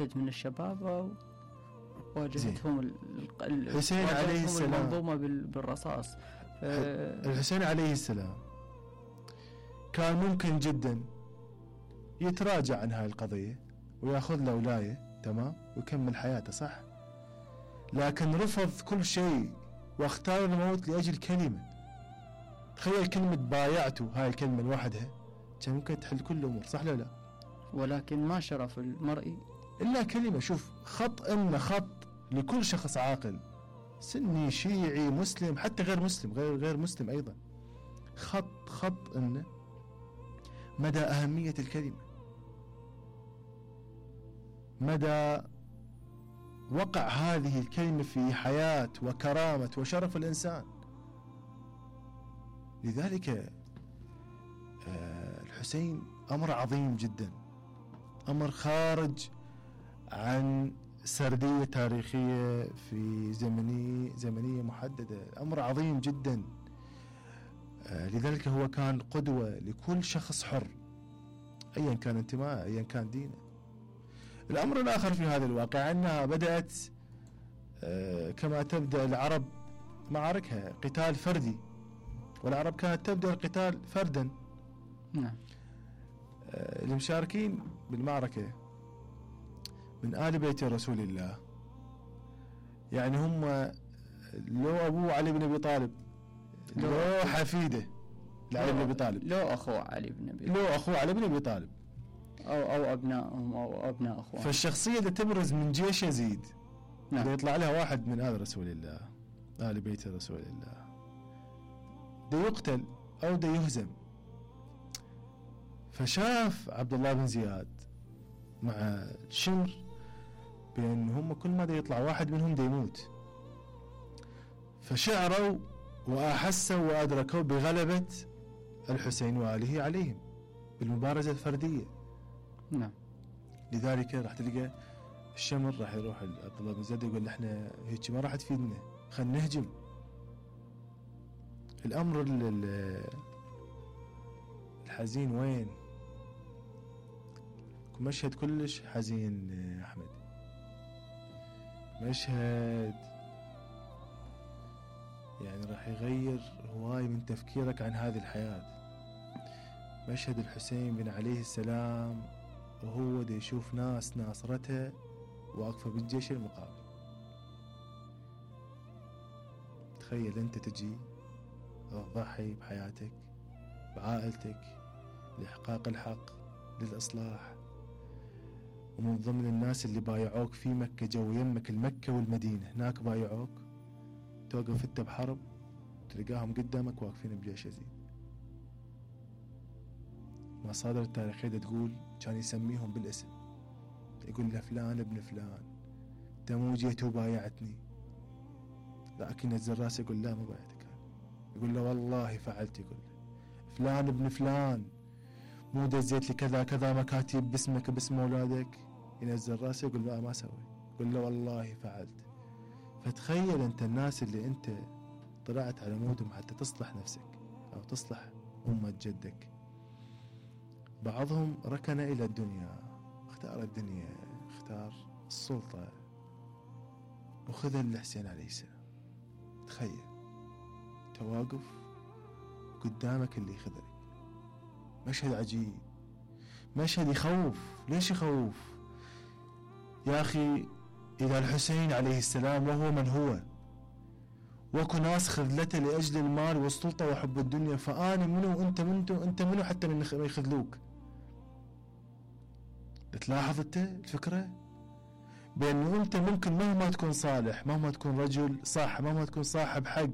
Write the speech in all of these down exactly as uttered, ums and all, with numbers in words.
عدد من الشباب واجهتهم الحسين عليه السلام المنظومة بالرصاص. الحسين عليه السلام كان ممكن جدا يتراجع عن هاي القضية ويأخذ له ولاية تمام ويكمل حياته صح، لكن رفض كل شيء واختار الموت لأجل كلمة. تخيل كلمة بايعته، هاي الكلمة لوحدها كان ممكن تحل كل الأمور صح لا لا؟ ولكن ما شرف المرء إلا كلمة. شوف خط إنه خط لكل شخص عاقل سني شيعي مسلم حتى غير مسلم غير غير مسلم أيضا، خط خط إنه مدى أهمية الكلمة، مدى وقع هذه الكلمة في حياة وكرامة وشرف الإنسان. لذلك آه الحسين أمر عظيم جدا، أمر خارج عن سردية تاريخية في زمنية زمنية محددة، أمر عظيم جدا. آه لذلك هو كان قدوة لكل شخص حر أيا كان انتماءه أيا كان دينه. الأمر الآخر في هذا الواقع أنها بدأت آه كما تبدأ العرب معاركها قتال فردي، والعرب كانت تبدأ القتال فردا. نعم. آه المشاركين بالمعركة من آل بيت رسول الله يعني هم لو أبوه علي بن أبي طالب، لو حفيده لعلي بن أبي طالب، لو أخوه علي بن أبي لو أخوه علي بن أبي طالب أو أو أبنائهم أو أبناء أخوان. فالشخصية اللي تبرز من جيش يزيد نعم. إذا يطلع لها واحد من آل رسول الله آل بيت رسول الله ده يقتل أو ده يهزم. فشاف عبد الله بن زياد مع الشمر بأن هم كل ما ده يطلع واحد منهم ده يموت، فشعروا وأحسوا وأدركوا بغلبة الحسين وآله عليهم بالمبارزة الفردية. نعم. لذلك راح تلقى الشمر راح يروح عبد الله بن زياد يقول احنا هيك ما راح تفيدنا خلينا نهجم. الأمر الحزين وين؟ مشهد كلش حزين أحمد، مشهد يعني راح يغير هواي من تفكيرك عن هذه الحياة. مشهد الحسين بن عليه السلام وهو دي يشوف ناس ناصرته واقفة بالجيش المقابل. تخيل انت تجي تضحي بحياتك بعائلتك لإحقاق الحق للإصلاح، ومن ضمن الناس اللي بايعوك في مكة جو يمك المكة والمدينة هناك بايعوك، توقف انت بحرب تلقاهم قدامك واقفين بجيش يزيد. مصادر التاريخية تقول كان يسميهم بالاسم، يقول له فلان ابن فلان تمو جيت وبايعتني، لكن ينزل راسه يقول لا ما بايعتك، يقول له والله فعلت، يقول له فلان ابن فلان مو دزيت لي كذا كذا مكاتب باسمك باسم اولادك، ينزل راسه يقول لا ما سوي، يقول له والله فعلت. فتخيل انت الناس اللي انت طلعت على مودهم حتى تصلح نفسك او تصلح امة جدك، بعضهم ركن الى الدنيا، اختار الدنيا، اختار السلطة وخذ الحسين عليه السلام. تخيل تواقف قدامك اللي خذلك، مشهد عجيب، مشهد يخوف. ليش يخوف يا أخي؟ إذا الحسين عليه السلام وهو من هو وكو ناس خذلته لأجل المال والسلطة وحب الدنيا، فأنا منو وأنت منو أنت منو حتى من يخذلوك؟ تلاحظ أنت الفكرة بأنه أنت ممكن مهما تكون صالح، مهما تكون رجل صح، مهما تكون صاحب حق،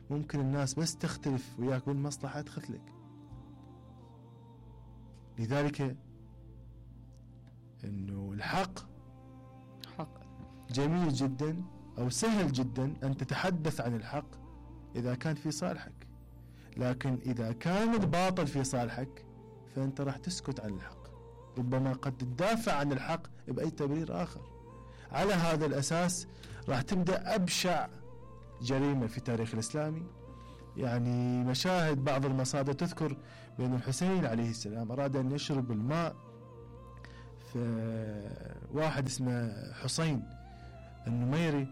ممكن الناس بس تختلف وياك بالمصلحة تخذلك. لذلك انه الحق حق جميل جدا او سهل جدا ان تتحدث عن الحق اذا كان في صالحك، لكن اذا كان الباطل في صالحك فانت راح تسكت عن الحق، ربما قد تدافع عن الحق باي تبرير اخر. على هذا الاساس راح تبدا ابشع جريمة في التاريخ الاسلامي. يعني مشاهد بعض المصادر تذكر بأن الحسين عليه السلام أراد أن يشرب الماء فواحد اسمه حسين النميري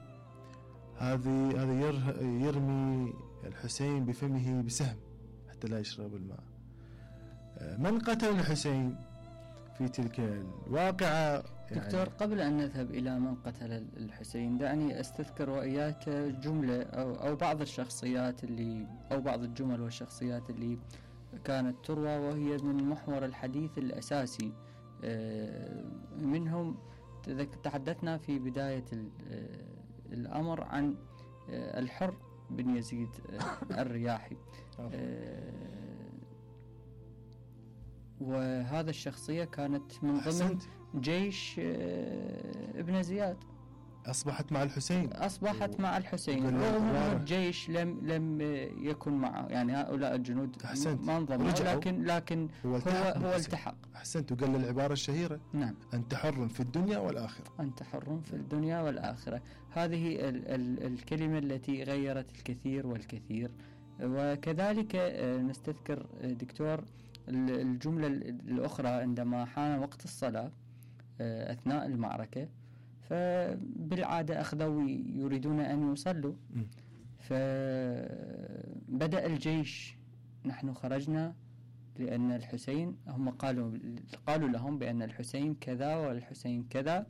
هذه هذا يرمي الحسين بفمه بسهم حتى لا يشرب الماء. من قتل الحسين في تلك الواقعة؟ يعني دكتور، قبل أن نذهب إلى من قتل الحسين دعني أستذكر وإياك جملة أو, أو بعض الشخصيات اللي أو بعض الجمل والشخصيات اللي كانت تروى وهي من محور الحديث الأساسي منهم. تحدثنا في بداية الأمر عن الحر بن يزيد الرياحي، وهذا الشخصية كانت من ضمن جيش ابن زياد، أصبحت مع الحسين أصبحت مع الحسين رغم أن الجيش لم لم يكن معه، يعني هؤلاء الجنود ما انضموا، لكن لكن هو التحق هو التحق أحسنت. وقال العبارة الشهيرة: نعم، أنت حر في الدنيا والآخرة. أنت حر في الدنيا والآخرة. هذه ال ال الكلمة التي غيرت الكثير والكثير. وكذلك نستذكر دكتور الجملة الأخرى عندما حان وقت الصلاة أثناء المعركة، فبالعادة أخذوا يريدون أن يصلوا، فبدأ الجيش: نحن خرجنا لأن الحسين، هم قالوا قالوا لهم بأن الحسين كذا والحسين كذا،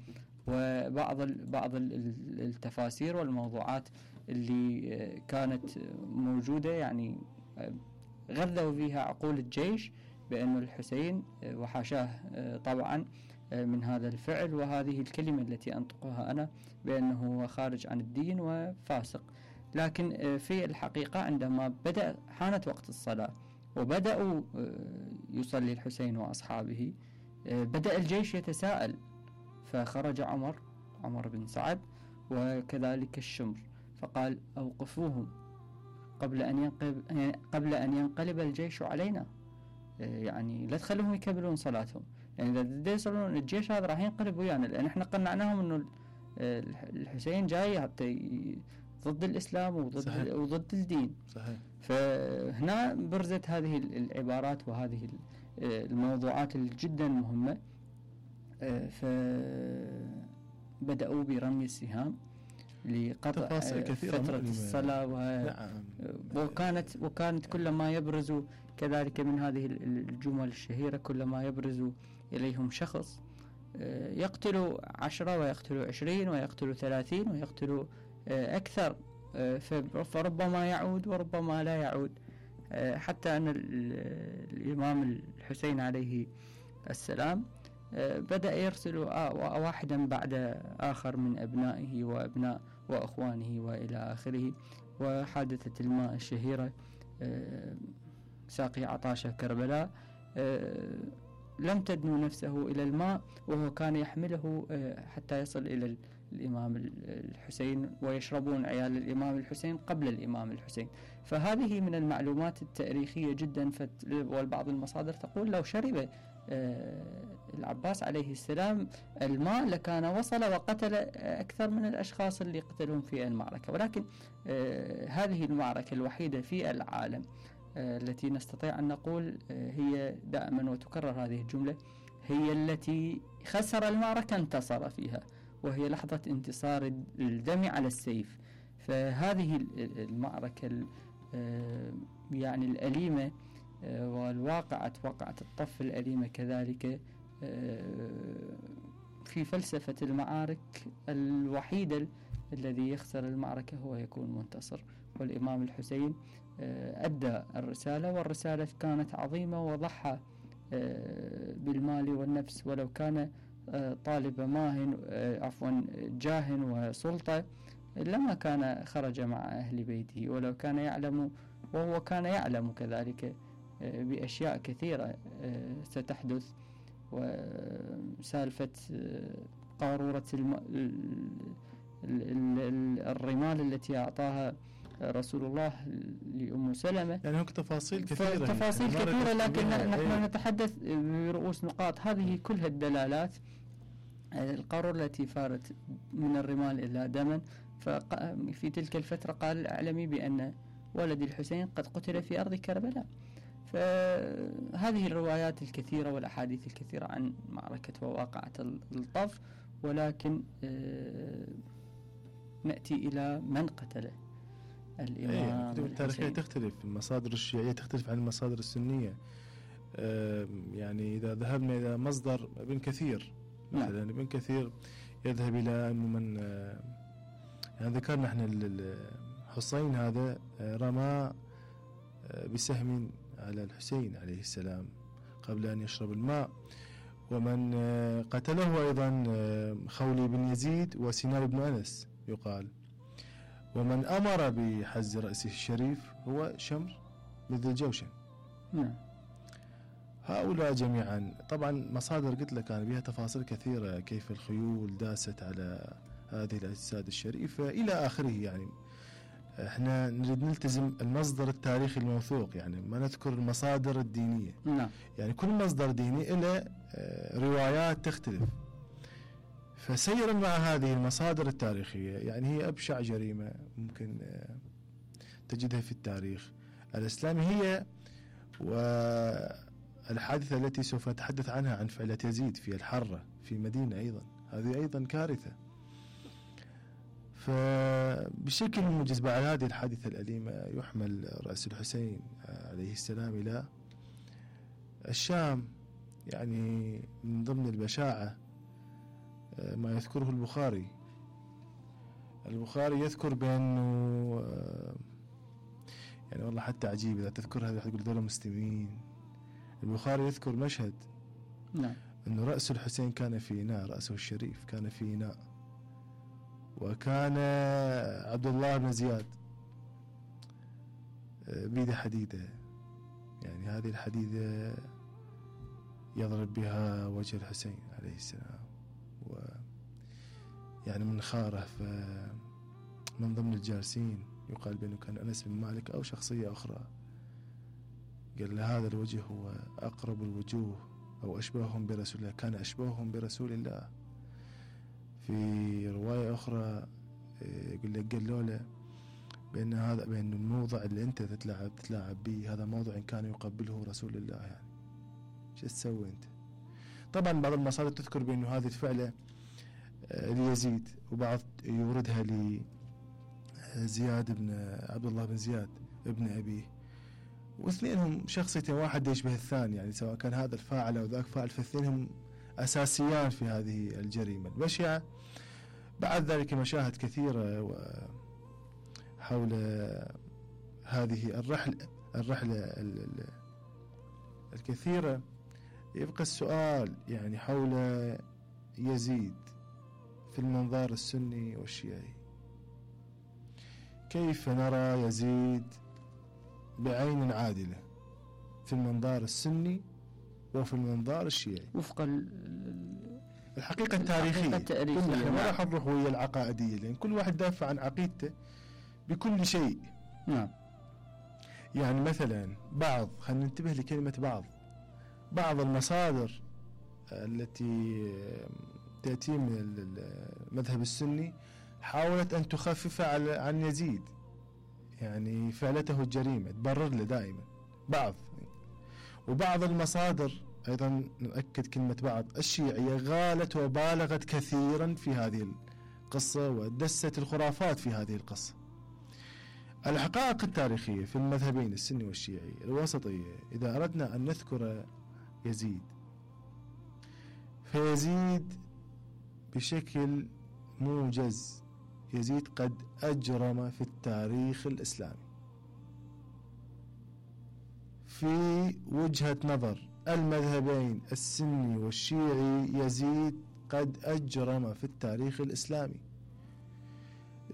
وبعض بعض التفاسير والموضوعات اللي كانت موجودة يعني غذوا فيها عقول الجيش بأن الحسين وحاشاه طبعا من هذا الفعل وهذه الكلمة التي أنطقها أنا بأنه خارج عن الدين وفاسق. لكن في الحقيقة عندما بدأ حانت وقت الصلاة وبدأوا يصلي الحسين وأصحابه، بدأ الجيش يتساءل، فخرج عمر عمر بن سعد وكذلك الشمر فقال: أوقفوهم قبل أن ينقلب قبل أن ينقلب الجيش علينا، يعني لا تخلوهم يكملون صلاتهم، يعني إذا يصلون الجيش هذا راح ينقلب ويانا، لأن إحنا قنعناهم إنه الحسين جاي حتى ضد الإسلام وضد صحيح. وضد الدين. صحيح. فهنا برزت هذه العبارات وهذه الموضوعات الجدا مهمة، فبدأوا برمي السهام لقطع فترة الصلاة و... نعم. وكانت وكانت كلما يبرز كذلك من هذه الجمل الشهيرة، كلما يبرز إليهم شخص يقتل عشرة ويقتل عشرين ويقتل ثلاثين ويقتل أكثر، فربما يعود وربما لا يعود، حتى أن الإمام الحسين عليه السلام بدأ يرسل واحدا بعد آخر من أبنائه وأبناء وأخوانه وإلى آخره. وحادثة الماء الشهيرة ساقي عطاشة كربلاء لم تدنو نفسه إلى الماء وهو كان يحمله حتى يصل إلى الإمام الحسين، ويشربون عيال الإمام الحسين قبل الإمام الحسين. فهذه من المعلومات التاريخية جدا، والبعض المصادر تقول لو شرب العباس عليه السلام الماء لكان وصل وقتل أكثر من الأشخاص اللي قتلهم في المعركة. ولكن هذه المعركة الوحيدة في العالم التي نستطيع أن نقول هي دائما وتكرر هذه الجملة، هي التي خسر المعركة انتصر فيها، وهي لحظة انتصار الدم على السيف. فهذه المعركة يعني الأليمة والواقعة وقعة الطف الأليمة كذلك في فلسفة المعارك الوحيدة الذي يخسر المعركة هو يكون منتصر، والإمام الحسين أدى الرسالة، والرسالة كانت عظيمة وضحى بالمال والنفس، ولو كان طالب ماهن عفوا جاه وسلطة لما كان خرج مع أهل بيته، ولو كان يعلم وهو كان يعلم كذلك بأشياء كثيرة ستحدث. وسالفة قارورة الرمال التي أعطاها رسول الله لأم سلمة، يعني هناك تفاصيل كثيرة تفاصيل كثيرة لكن نحن نتحدث برؤوس نقاط. هذه كلها الدلالات، القارورة التي فارت من الرمال إلى دما، ففي تلك الفترة قال: أعلمي بأن ولد الحسين قد قتل في أرض كربلاء. فهذه الروايات الكثيرة والأحاديث الكثيرة عن معركة وواقعة الطف، ولكن نأتي إلى من قتله الإمام. الكتب التاريخية تختلف، المصادر الشيعية تختلف عن المصادر السنية. يعني إذا ذهبنا إلى مصدر ابن كثير مثلا، ابن كثير يذهب إلى أنه من يعني ذكرنا احنا الحسين هذا رمى بسهم على الحسين عليه السلام قبل أن يشرب الماء، ومن قتله أيضا خولي بن يزيد وسنان بن أنس يقال، ومن أمر بحز رأسه الشريف هو شمر بن ذي الجوشن. نعم. هؤلاء جميعا طبعا مصادر قلت لك كان بها تفاصيل كثيرة، كيف الخيول داست على هذه الأجساد الشريفة إلى آخره. يعني احنا نريد نلتزم المصدر التاريخي الموثوق، يعني ما نذكر المصادر الدينية. نعم. يعني كل مصدر ديني له روايات تختلف، فسيرا مع هذه المصادر التاريخية، يعني هي أبشع جريمة ممكن تجدها في التاريخ الإسلامي، هي والحادثة التي سوف نتحدث عنها عن فعلة يزيد في الحرة في مدينة أيضا، هذه أيضا كارثة. فبشكل موجز بعد هذه الحادثة الأليمة يحمل رأس الحسين عليه السلام إلى الشام. يعني من ضمن البشاعة ما يذكره البخاري البخاري يذكر بأنه يعني والله حتى عجيب إذا تذكر هذا تقول دولة مسلمين. البخاري يذكر مشهد نعم أنه رأس الحسين كان في إناء، رأسه الشريف كان في إناء، وكان عبد الله بن زياد بيده حديدة، يعني هذه الحديدة يضرب بها وجه الحسين عليه السلام، و يعني من خاره. فمن ضمن الجالسين يقال بأنه كان أنس بن مالك أو شخصية أخرى، قال له هذا الوجه هو أقرب الوجوه أو أشبههم برسول الله، كان أشبههم برسول الله. في رواية أخرى يقول لك قالوا له بأن هذا بأن الموضع اللي أنت تتلاعب تتلاعب به هذا موضع إن كان يقبله رسول الله، يعني شو تسوي أنت؟ طبعا بعض المصادر تذكر بأنه هذه الفعلة ليزيد، وبعض يوردها لزياد بن عبد الله بن زياد ابن أبيه، واثنينهم شخصيتين واحد يشبه الثاني، يعني سواء كان هذا الفاعل أو ذاك فاعل، فاثنينهم أساسيان في هذه الجريمة البشعة. بعد ذلك مشاهد كثيرة حول هذه الرحلة الرحلة الكثيرة. يبقى السؤال يعني حول يزيد في المنظار السني والشيعي، كيف نرى يزيد بعين عادلة في المنظار السني وفي المنظار الشيعي وفق الحقيقة التاريخية؟ نحن ما راح نروح ويا العقائدية، لأن كل واحد دافع عن عقيدته بكل شيء. نعم. يعني مثلا بعض، خلينا ننتبه لكلمة بعض، بعض المصادر التي تأتي من المذهب السني حاولت أن تخفف عن يزيد، يعني فعلته الجريمة تبرر له دائما بعض. وبعض المصادر أيضا نؤكد كلمة بعض الشيعية غالت وبالغت كثيرا في هذه القصة ودست الخرافات في هذه القصة. الحقائق التاريخية في المذهبين السني والشيعي الوسطية، إذا أردنا أن نذكر يزيد، فيزيد بشكل موجز يزيد قد أجرم في التاريخ الإسلامي في وجهة نظر المذهبين السني والشيعي. يزيد قد أجرم في التاريخ الإسلامي.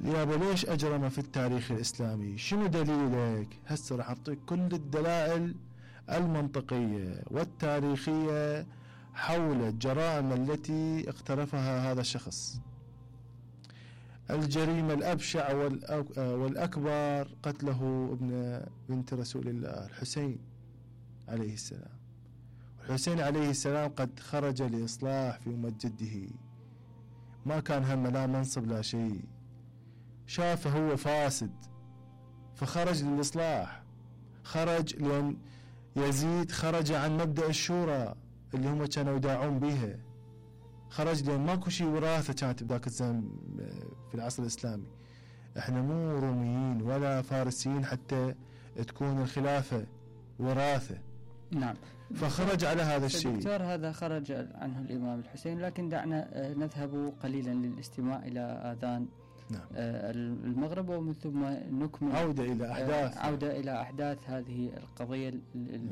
يابا ليش أجرم في التاريخ الإسلامي؟ شنو دليلك؟ هسه راح أعطيك كل الدلائل المنطقية والتاريخية حول الجرائم التي اقترفها هذا الشخص. الجريمة الأبشع والأكبر قتله ابن بنت رسول الله الحسين عليه السلام. الحسين عليه السلام قد خرج لإصلاح في أمة جده، ما كان هم لا منصب لا شيء، شافه هو فاسد فخرج للإصلاح، خرج لأن يزيد خرج عن مبدأ الشورى اللي هم كانوا يداعون بيها، خرج لأن ماكو شيء وراثة كانت بذاك الزمن في العصر الإسلامي. احنا مو روميين ولا فارسيين حتى تكون الخلافة وراثة. نعم. فخرج على هذا الشيء. دكتور هذا خرج عنه الإمام الحسين، لكن دعنا نذهب قليلا للاستماع إلى آذان نعم. المغرب ومن ثم نكمل عودة إلى أحداث عودة إلى أحداث هذه القضية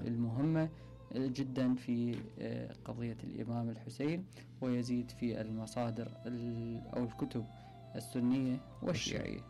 المهمة جدا في قضية الإمام الحسين ويزيد في المصادر أو الكتب السنية والشيعية.